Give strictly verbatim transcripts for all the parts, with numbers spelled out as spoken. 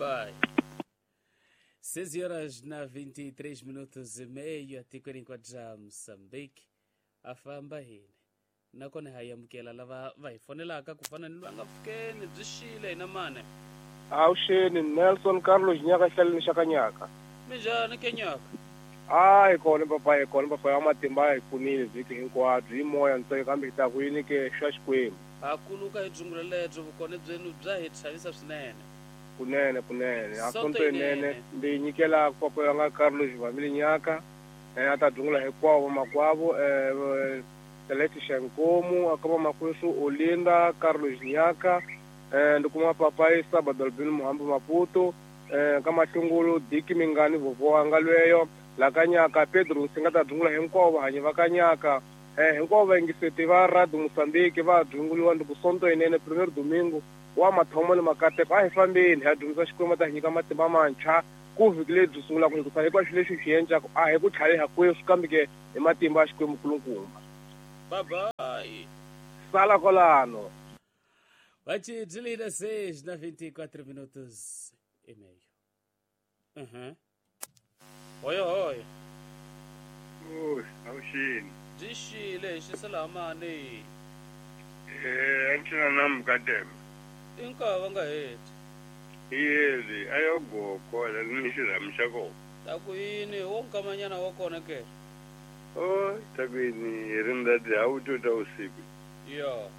Bye-bye. seis horas na vinte e três minutos e meio atikweni hinkwaro Moçambique a famba hini nakona ha amukela lava va hi fonelaka ku fana ni loyi a nga pfukeni byi xile hina mane. Awuxeni Nelson Carlos Nyaka hlaleni xa ka Nyaka. Minjhani ke Nyaka? Hayi kona papa, hi kona papa ya matimba hi pfunile vhiki hinkwabyo hi moya ntsena kambe hi ta ku yini ke xa Xikwembu. Ha kuluka hi dzungula lebyo vukona byenu bya hi chavisa swinene. Kunene kunene a Sonto sonto yinene yinene. ndzi nyikela papa ya nga Carlos Vamile Nyaka eh, a ta dzungula hinkwavo makwavo eh, Celeste Xankomu a ka vamakwesu Olinda Carlos Nyaka eh, ndi kuma papai Sabado Albino Muhambi Maputo eh, ka Mahlungulu Diki Mingani vovo wanga lweyo la ka Nyaka Pedro Nsinga ta dzungula hinkwavo vahanyi va ka Nyaka eh, hinkwavo vayingiseti va Radio Moçambique va dzunguliwa ndi ku sonto yinene premier domingo wa mathomo ni makateko a hi fambeni hi ya dyondzisa Xikwembu ta hi nyika matimba mantshwa ku vhiki lebyi byi sungulaka hikusa hinkwaswo leswi hi swi endlaka a hi ku tlhariha kwesu kambe ke hi matimba ya Xikwembu nkulukumba. Bye-bye. Sala kwalano. Vai desliga seis na vinte e quatro minutos e meio. Uhum. Oi, oi. Oi, awuxini. Byi xile xi salamani. Eh, antsina namukadema. Inkava nga heti. Yezi, ayogogo la ni xirhamu xa kona. Ta ku yini wo nkamanyana wa kona ke? Oh, ta ku yini hi ri ndati a wu to ta usiku. Yo.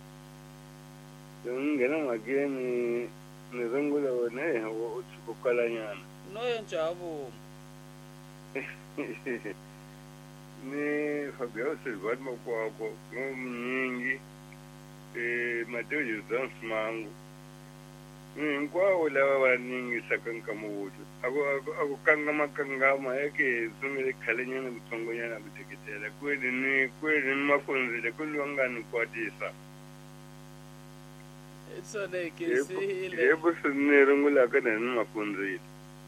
Ni nghena mhakeni ni rungula wena eh, u tshuka u kalanyana. No yenjavu. Ni Fabio Silva Makwako, Munyingi, eh, Mateo Jordan Simangu. Hinkwavo lava va ningisaka nkama wutu a ku a ku a ku kangama kangama eke sungule khalenyana kutsongonyana ku teketela kweli ni kweli ni mafundzile kweli va nga ni kwatisa. Tsonekisile. Yebo swi rungulaka na ni mafundzile.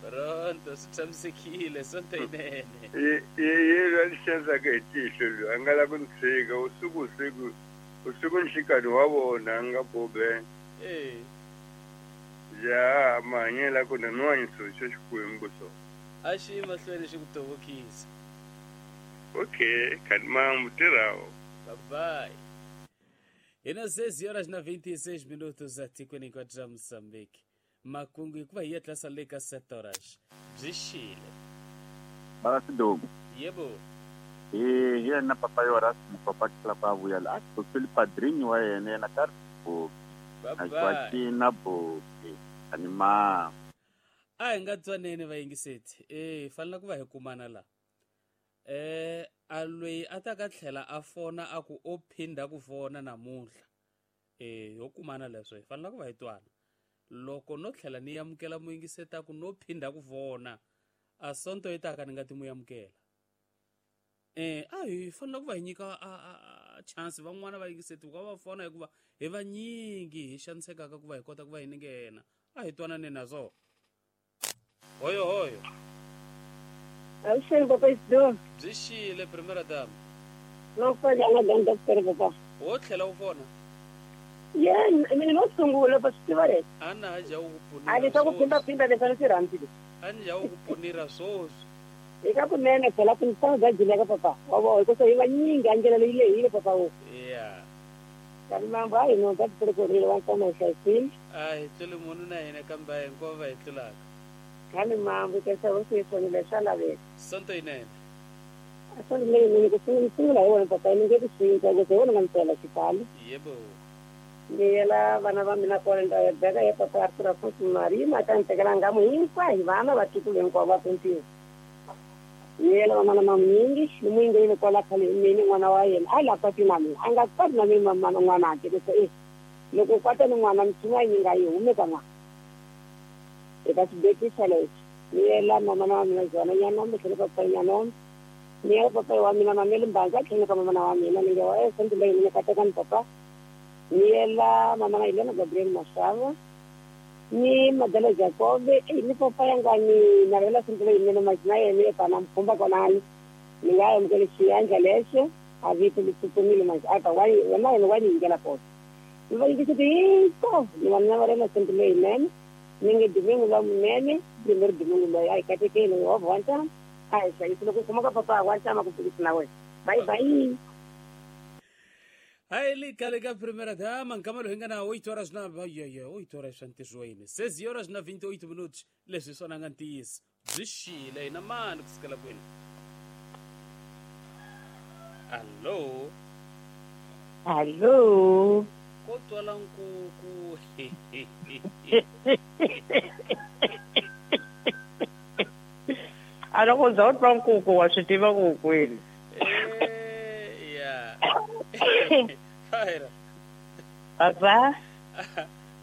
Pronto, swi tshamisekile sonto yinene. Ye ye ye a xanisaka hi tihlo loyi a nga la ku ni tshika usiku usiku usiku nhlikani wa vona a nga bobe. Eh. Ya mahanyelo ku na nwanyiso xa Xikwembu so. A xi mahlweni xi ku tovokisa. Okay, khalimambu tirhawo. Bye bye. Hina seis horas na vinte e seis minutos atikweni hinkwaro ra Moçambique. Makungu hikuva hi ya tlasa le ka sete horas. Byi xile. Bala Sidogo. Yebo. Eh, hi yena papa yo ra mupapa tlhela ku a vuya la a tshotseli padrinho wa yena yena ka ri Bye a bye. Joaquina Boke anima. A hi nga twaneni vayingiseti. Eh, hi fanele ku va hi kumana la. Eh, a loyi a ta ka tlhela a fona a ku o phinda ku fona namuntlha. Eh, ho kumana leswo hi fanele ku va hi twana. Loko no tlhela ni amukela muyingiseti a ku no phinda ku fona, a sonto yi taka ni nga ti mu amukela. Eh, a hi fanele ku va hi nyika a, a, a chance van'wana va yingiseti ku va va fona hikuva hi vanyingi hi xanisekaka ku va hi kota ku va hi ninghena. A hi twanane na swona. Hoyo hoyo. Awuxeni papa Isidoro. Byi xile primera dama. No fona nga danda pere papa. Wo tlhela u fona. Yena mina no sungula pa swi tiva leswi. A na ha ja u ku A pfunira leswi ku swoswi. phinda phinda leswi a ni swi rhandzile. A ni ja u ku pfunira swoswi. Eka kunene phela ku misava bya jileka papa. Wa vona hikusa hi vanyingi a ndlela leyi lehile papa wo. Yeah. Kani mambo a hi no ta tikorile wa nkama hi hlayisile. A hi tluli munhu na hina kambe a hinkwavo va hi tlulaka. Kani mambo kesa hosi yi fonile swa laveka. Sonto yinene. A sonto leyinene ku sungula sungula hi wona papa ni nge ku cinca ku hi wona nga ni twela xibalo. Yebo. Ni yela vana va mina kona ni ta ya beka ya papa Arthur Afonso Marima ta ni tekela ngamu hinkwayo vana vatukulu hinkwavo va puntiwa. Ni yela vamana manyingi ni muyingi yile kwala khale mina n'wana wa yena a la kwati na mina a nga kwati na mina mamana n'wana a ku e loko kwata ni n'wana mtshunga yi nga yi hume ka n'wana eka xibekisa lexi ni yela mamana wa mina Jona Nyanombe tlhelo papa Nyanombe ni yela papa wa mina Mameli Mbanza tlhelo ka mamana wa mina ni nge wa e sonto leyi ni kateka ni papa ni yela mamana Helena Gabriel Mashava ni Madala Jacobe e ni papa yanga ni navela sonto leyi mina majina yena pana mkhumba konani ni nga amukela xiyandla lexo a vito litsupumile manje a ta wa wena yena wa ni yingela kona ni va yingiseti hinkwavo ni va navarela sonto leyinene Ni nge domingo la munene primeiro domingo loyi a hi katekeni Yehovha wa ntama a hi hlayisi loko u kuma ka papa wa ntama ku fikisa na wena. Bye bye. Aí liga liga primeira dama nkama loyi nga na oito horas na oito horas swa ntirhweni seis horas na vinte e oito minutos leswi swona nga ntiyiso byi xile hina mani ku sukela kwini. Allo allo ko twala nkuku. A loko za u twa nkuku wa swi tiva ku kwini. Ya Fire. Papa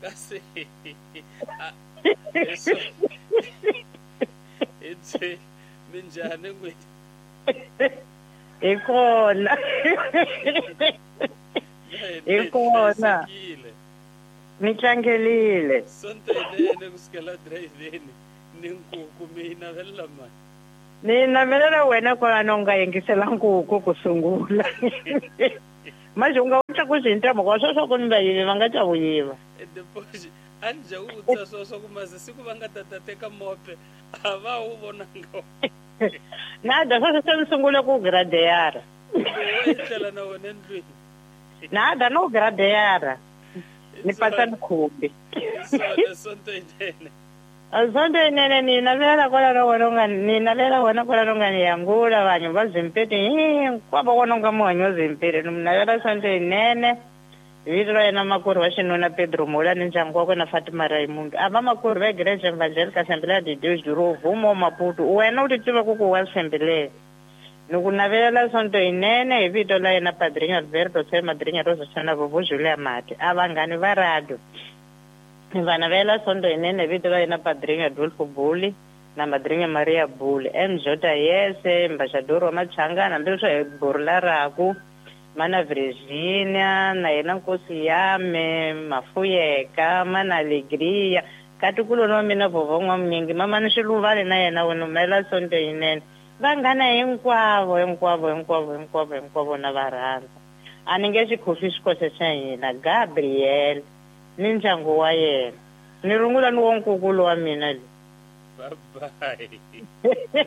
kasi eso itse minjhani n'wini hi kona hi kona mi tlangelile sonto yinene kusukela driveni ni nkuku mi navelela mani ni navelela wena kwalano u nga yingisela nkuku ku sungula manje u nga u tlakusi hi ntambu kwa sweswo ku ni vayivi va nga ta wu yiva depois a ni dya ku vutisa swo swa ku mase siku va nga ta ta teka mope a va wu vonanga nada sweswo se ni sungule ku gradeyara wo etlela na wena endlwini nada no gradeyara ni pasa ni khumbi sonto yinene sonto yinene ni navelela kwalano wena u nga ni navelela wena kwalano u nga ni yangula vanhu va Zimpete hinkwavo wona u nga muhanyi wa Zimpete ni mu navela sonto yinene vito ra yena makwerhu wa xinuna Pedro Mola ni ndyangu wakwe na Fatima Raimundo a va makwerhu va Igreja Evangélica Assembleia de Deus do Rovumo Maputo wena u ti tiva ku ku wa Assembleia ni ku navelela sonto yinene hi vito la yena Padrinho Alberto se Madrinha Rosa Chana Vovo Julia Mati a vanghani va radio ni va navela sonto yinene hi vito la yena Padrinho Adolfo Buli na Madrinha Maria Buli M J Yese embaixador wa Machangana hambileswi hi Borla Raku mana Virginia na yena nkosi yame Mafuyeka mana Alegria katikulu wa mina Vovo N'wamunyingi mama ni Xiluvale na yena wena mela sonto yinene vanghana hinkwavo hinkwavo hinkwavo hinkwavo hinkwavo na va rhandza a ni nge xikhofi xikoxe xa hina Gabriel ni ndyangu wa yena ni rungula ni wo nkukulu wa mina le bye bye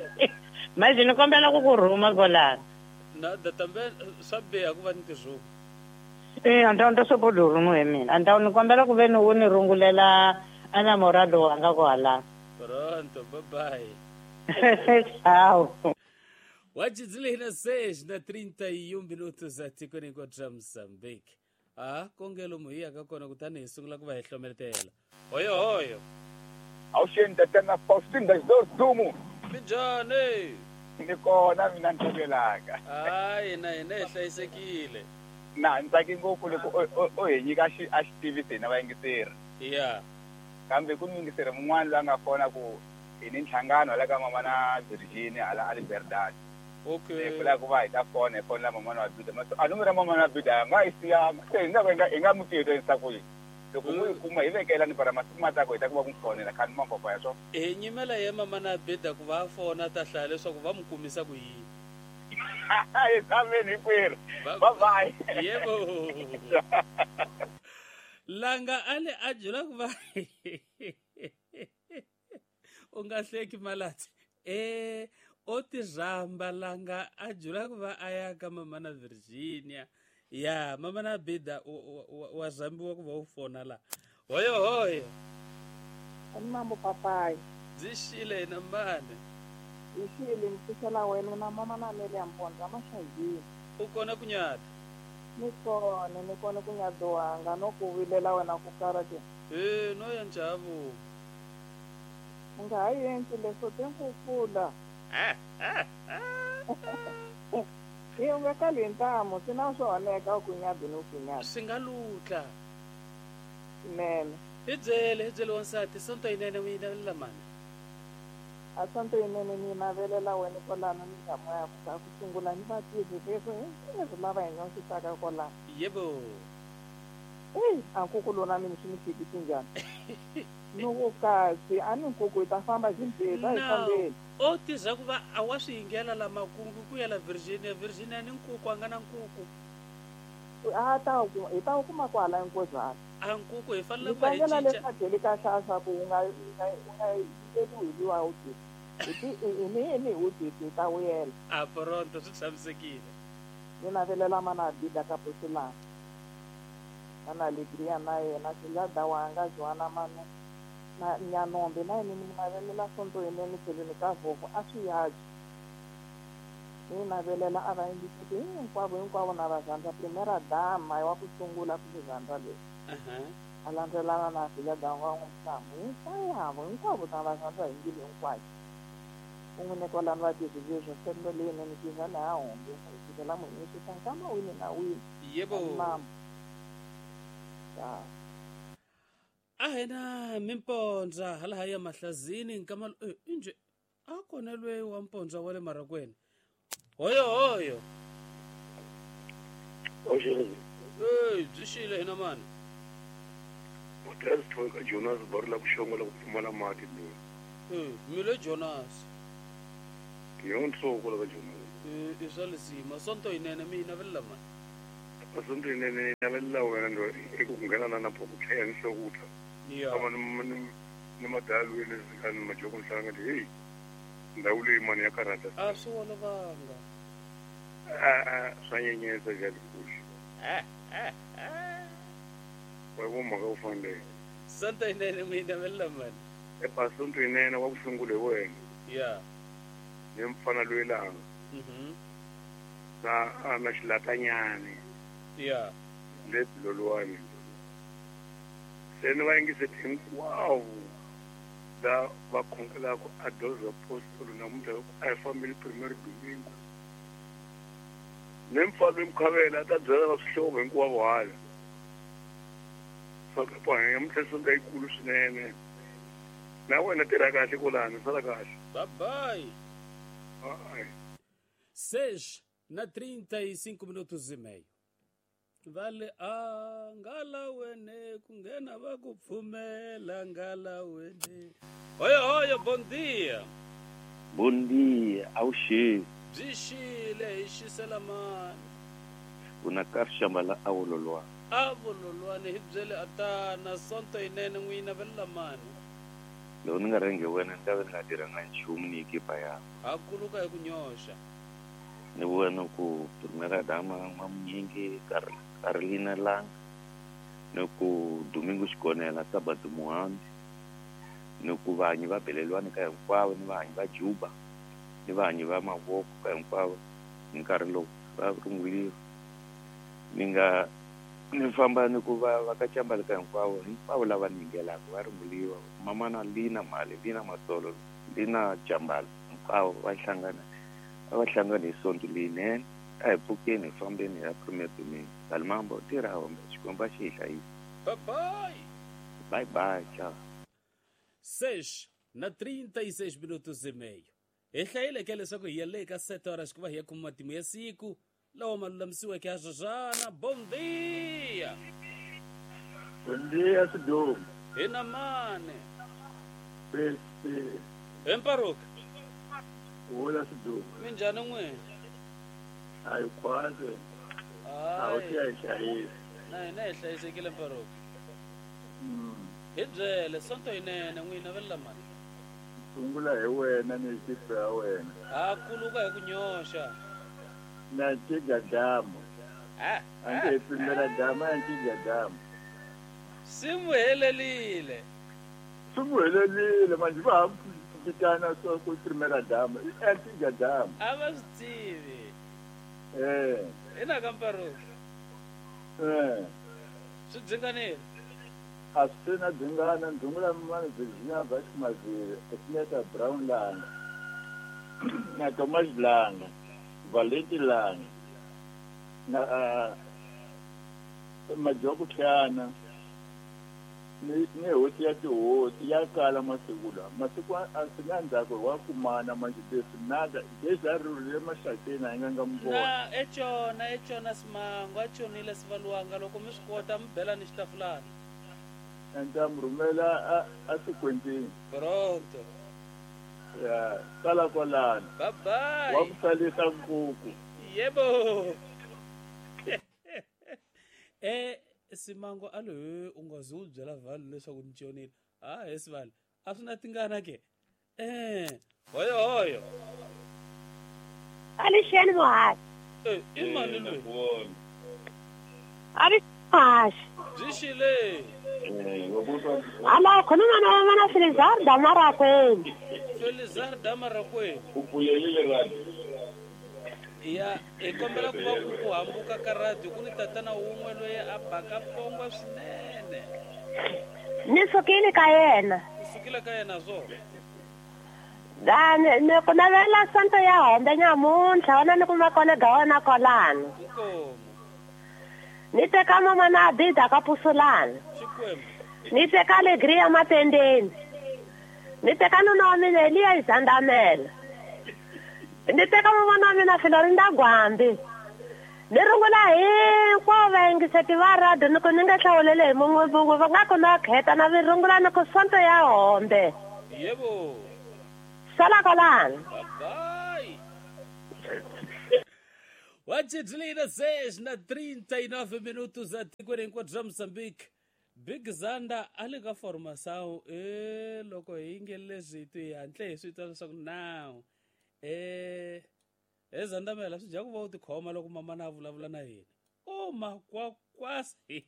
manje ni kombela ku ku rhuma kolana na datambe swa biha ku va ni tirhuma eh andawu ni ta sobodo rhumu hi mina andawu ni kombela ku ve ni u ni rungulela enamorado wanga kwala pronto bye bye. Tchau. Wajizile seis na trinta e um minutos atikweni ra Mozambique. Ah, kongelo muhiya ka kona kutani hi sungula ku va hi hlometela. Hoyo hoyo. Awuxeni tatana Faustin das Dores Dumo. Minjhani? Ni kona mina ni tlangelaka. Hayi na hina hi hlayisekile. Na ni tsake ngopfu loko o hi nyika a xi tivisi hina vayingiseri. Ya. Kambe ku muyingiseri mun'wana loyi a nga fona ku hi ni nhlangano hala ka mama na Virginia hala a Liberdade. Okay. Hi pfula ku va hi ta fona hi fonela mama na Buda. A nomoro ya mama na Buda nga yi siyanga. Se hi nga hi nga mu tirhisa ku yini. Loko mu yi kuma hi vekela ni para masiku ma taka hi ta ku va ku fonela khani mapapa ya swona. Hi nyimela ye mama na Buda ku va fona ta hlaya leswaku va mu kumisa ku yini. Hi tshameni hinkwerhu. Bye bye. Yebo. Langa ale a jula ku va u nga hleki malati eh o ti rhamba langa a jula ku va a ya ka mama na Virginia ya mama na Bida wa rhambiwa ku va u fona la hoyo hoyo ani mambo papai byi xile hina mani hi xile ni pfuxela wena na mama na Miriam Mbondza Maxayini u kona ku nyata ni kona ni kona ku nyaduwanga no ku vilela wena ku karate e no ya njavu u nga ha endli leswo te ku pfula i u nga kali hi ntamu swi na swo oneka ku nyadi ni ku nyadi swi nga lutla swinene hi byele hi byele wansati sonto yinene u yi navelela mani a sonto yinene ni yi navelela wena kwalano ni ndhamu ya ku ku sungula ni vativi leswo hinkwaswo lava hi nyondzisaka kwalano yebo eyi a nkuku lona mina swi ni fikisi njhani loko kasi a ni nkuku hi ta famba Zimbabwe a hi fambeni o tirha ku va a wa swi yingela la makungu ku ya la Virginia Virginia ni nkuku a nga na nkuku a ta hi ta wu kuma kwala Nkozana A nkuku hi fanele ku va hi cinca. Leswaku ka xaxa ku u nga u nga u nga yiveriwi hi liwa u ti. Hi ni ni u ti ta wuyela. A pronto swi tshamisekile. Ni navelela mana Bida ka Posilana. Mana Alegria na yena Xilada wanga Joana Manu na Nyanombe na yena ni navelela sonto yinene tlhelweni ka voko a swi yaji. Ni navelela a va yingiseti hinkwavo hinkwavo na va rhandza primera dama wa ku sungula ku rhandza leswi. A landzelana na Xilada wa n'wi hinkwavo hinkwavo ta va rhandza hi mbilu hinkwayo. Un'we ne kwalano va tirhisile sendo leyinene tivana ha hombe ku fikela munhu swi nkama wini na wini. Yebo. A hina mimpondza hala haya mahlazini nkama inje a kona lwe wa mpondza wa le marakweni. Hoyo hoyo. Oxele. Eh, byi xile hina mani. Hotel ka Jonas barla ku xongola ku pfumala mati loyi. Eh, mi le Jonas. Yonso ko la Jonas. Eh, i swa lesima sonto yinene mi navelela mani. Sonto yinene navelela wena ndo eku nghena na na phoko tlhela nhloko. Yeah. Ama ni ni madalweni ni majoko nhlanga hey. Ndhawu leyi mani ya karata. A swi olovanga. A swa nyenyetsa jali kuxi. Eh eh eh. Wa vo mhaka u fanele. Sonto yinene mi navelela mani. E pa sonto yinene wa ku sungula hi wena. Yeah. Ni mfana loyi langa. Mhm. Na na xilatanyani. Yeah. Le lolwani. Se ni va yingiseti hinkwavo la va khongelaka a doze apostolo namuntlha a hi fambile primero domingo. Ni mfana loyi Mkhavela a ta byela va swihlovo hinkwavo hala. Swa ku namuntlha sonto yikulu swinene. Na wena tirha kahle kwalano, sala kahle. Bye bye. Bye. Seis na trinta e cinco minutos e meio. Vale a ngala wene ku nghena va ku pfumela ngala wene. Hoyo hoyo, bom dia. Bom dia, awuxi. Byi xile hi xisela mani. Una karxambala awololwa. Avololwane hi byele atana sonto yinene n'wi navelela mani. Loko ni nga rhangi wena ni ta va ni nga tirhanga nchumu ni ekipa ya. Ha kuluka hi ku nyoxa. Ni vona ku primera dama N'wamunyingi Carolina Langa, ni ku Domingo Xikonela Sabatu Muhambi, ni ku vanyi va Belelwani ka hinkwavo, ni vanyi va Juba, ni vanyi va Mavoko ka hinkwavo hi nkarhi lowu va runguriwa. Ni nga ni famba ni ku va va ka Chambala ka hinkwavo, hinkwavo lava ni yingelaka va runguriwa. Mamana Lina Mali, Lina Masolo, Lina Chambala, hinkwavo va hlangana. Va hlangana hi sonto leyinene a hi pfukeni hi fambeni hi ya premier domingo. Kalimambo tirha hombe Xikwembu a xi hi hlayisa. Bye bye. Bye bye, ciao. Seis na trinta e seis minutos e meio. Hi hlayile ke leswaku hi ya le ka sete horas ku va hi ya kuma matimu ya siku lawa ma lulamisiweke ha Zazana. Bom dia. Bom dia, Sidomu. Hina mane. Pesi. Emparuka. Hola Sidomu. Minjhani n'wina? A hi khwase. A wu tiya hi hlayisa. Na hina hi hlayisekile Mparuka. Hi byele sonto yinene n'wina navelela mani. Sungula hi wena ni ekipa ya wena. Ha kuluka hi ku nyoxa. Na nciga damu. Ah. A ndzi primera dama ya nciga damu. Swi n'wi helelile. Swi n'wi helelile manje va ha vitana swa ku primera dama i antiga dama. A va swi tivi. Eh. Ina ka Mparuka. Eh. Swi dzinganile. A swi na dzingana ndungula mani Virginia Vashmazile, Etineta Brown Langa, na Thomas Langa, Valenti Langa, na uh, Majoko Tlhana, ni ni hosi ya tihosi ya kala masiku lawa. Masiku a swi nga ndzhaku wa kumana manje leswi nada leswi a rhurhile maxakeni a yi nga nga mi vona. Na econa econa Simango a chonile Sivaluanga loko mi swi kota mi bela ni xitafulana. Ndza mi rhumela a a sikwentini. Pronto. Ya, sala kwalano. Bye bye. Wa ku salisa nkuku. Yebo. Eh Simango a lo u nga zi u byela vanhu leswaku ni tshonile. Ah, he sivale. A swi na tingana ke. Eh, hoyo hoyo. Alixeni muhaxi. Eh, i mani loyi? Alixeni muhaxi. Byi xile. Ala khuluma na mana Felizar Damarakweni. Felizar Damarakweni. U pfulelile radio. Ya, hi kombela ku va ku hambuka ka radio ku ni tatana wun'we loyi a baka pongwa swinene. Ni sukile ka yena. U sukile ka yena swona? Da, ni ku navela sonto ya hombe nyamuntlha wona ni kuma kona ga wona kolano. Inkomu. Ni teka mama na Abida ka Pusulana. Xikwembu. Ni teka Alegria Matendeni. Ni teka nuna wa mina Eliya Izandamela. Ni teka mama wa mina Florinda Gwambi. Ni rungula hinkwavo vayingiseti va radio ni ku ni nga hlawuleli hi mun'we mun'we va nga ku na kheta na vi rungula ni ku sonto ya hombe. Yebo. Sala kolano. Bye. Wachidlina seis na trinta e nove minutos atikweni hinkwaro bya Mozambique. Big Zanda a le ka formação e loko hi nge leswi hi hantle hi swi twa leswaku now eh he Zanda mela swi dya ku va u tikhoma loko mama na vulavula na hina. O makwakwasi.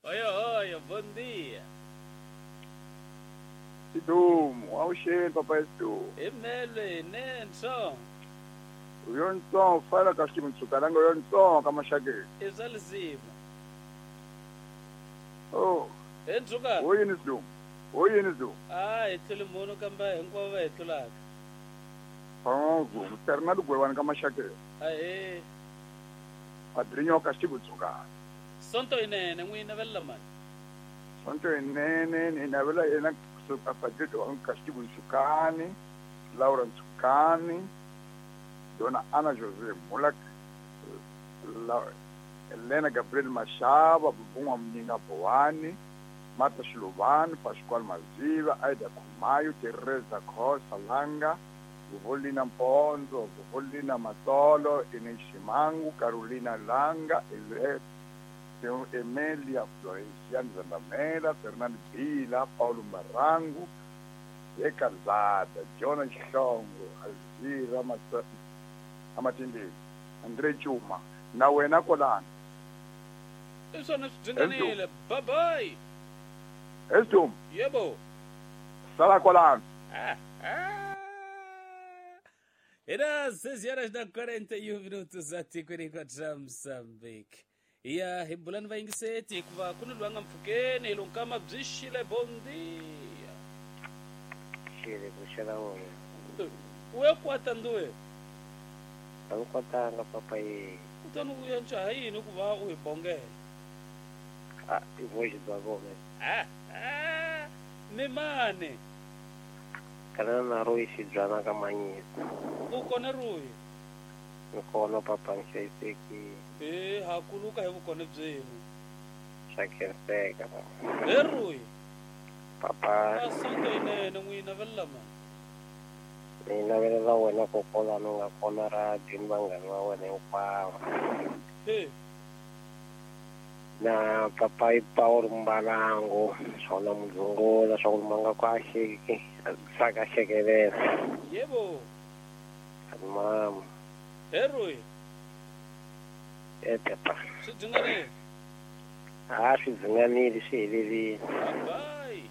Oyo oyo, bom dia. Sidumo, awusheli papa Sidumo. Emele nenso. Uyontsongo fala ka ximutsukalanga uyontsongo ka maxakeni. I swa lisima. Oh. Entsuka. Ho yini Sidumo? Ho yini Sidumo? Ah, hi tlule munhu kambe hinkwavo va hi tlulaka. Oh, Fernando Gwewani ka maxakeni. Ahee. Padrinho ka ximutsukana. Sonto inene n'wi navelela mani? Sonto inene ni navela yena kusuka Padrinho ka ximutsukani, Laura Ntsukani, Dona Ana José Mulak, La, Helena Gabriel Mashaba, Bubunga Mninga Boani, Marta Shilubani, Pascual Maziva, Aida Kumayo, Teresa Khosa Langa, Buvolina Mponzo, Buvolina Matolo, Ines Shimangu, Carolina Langa, Ele, Emelia Florenciano Zandamela, Fernando Bila, Paulo Marango, Ecalzada, Jonas Xongo, Alzira Amatindeni, André Chuma, na wena kolana. I swona swi dyinganile. Bye bye. Esdum. Yebo. Sala kolana. Ah, ah. Era seis horas da quarenta e um minutos atikweni kwa Mozambique. Ya hi bulani vayingiseti hikuva ku ni loyi a nga mpfhukeni hi lonkama byi xile bom dia. Xile ku xela wona. U ya kwata nduwe? A ni kwatanga papa ye. Kutani u ya ncaha yini ku va u hi bongela? Ah, i voice bya vona. Ah, ah, ni mani? Kana na Roy Xibyana ka Manyisa. U kona Roy? Ni kona papa ni hlayisekile. E ha kuluka hi vukona byenu. Swa khenseka papa. He Roy. Papa. A sonto yinene n'wi navelela mani? Ni navelela wena kokwalano nga kona radio ni vanghana va wena hinkwavo. He. Na papa i Paulo Mbalango, swona Mudzungola, swa ku ma nga ku a xeki, saka xekelela. Yebo. Mama. He Roy. E papa. Swi dyinganile? A swi dzinganile swi helerile. Bye.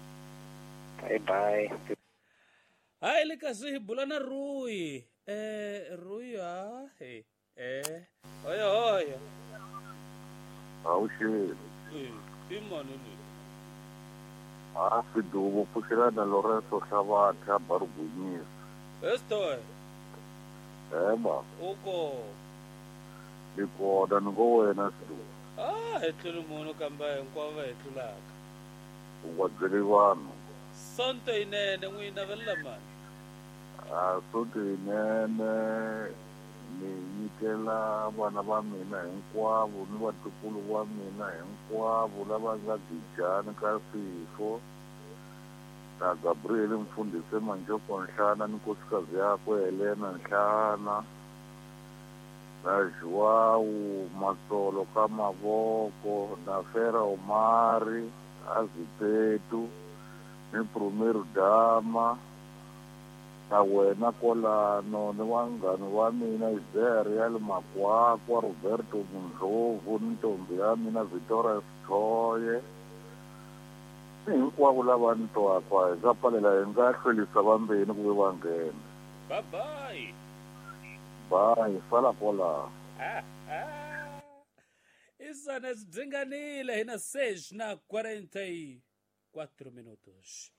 Bye bye. Hayi le kasi hi bula na Rui. Eh Rui ha he. Eh oyo oyo. Awuxeli. Eh i mani loyi? A Sidumo pfuxelana Lorenzo Hlavatha Barugwinyisa. Estoy. Eba. Uko. Ni kona ni ngo wena Sidumo. Ah, hi tlule munhu kambe hinkwavo va hi tlulaka. U nga byeli vanhu. Sonto yinene n'wi navelela mani? A sonto yinene ni nyikela vana va mina hinkwavo ni vatukulu va mina hinkwavo lava nga Gijani ka Sifo na Gabriel Mfundhisi Manjoko Nhlana ni nkosikazi yakwe Helena Nhlana Na João Matsolo ka mavoko, na Fera Omari, Azipetu, ni Primeiro Dama, na wena kwalano, ni vanghana va mina Israel Makwakwa, Roberto Mundlovu, ni ntombi ya mina Victoria Sithoye. Ni hinkwavo lava ni twaka, hi nga pfalela hi nga hlwerisa vambeni ku ve va nghena. Bye bye. Bye, sala kwalaho. Isana sibzinganile hina seis na quarenta e quatro minutos.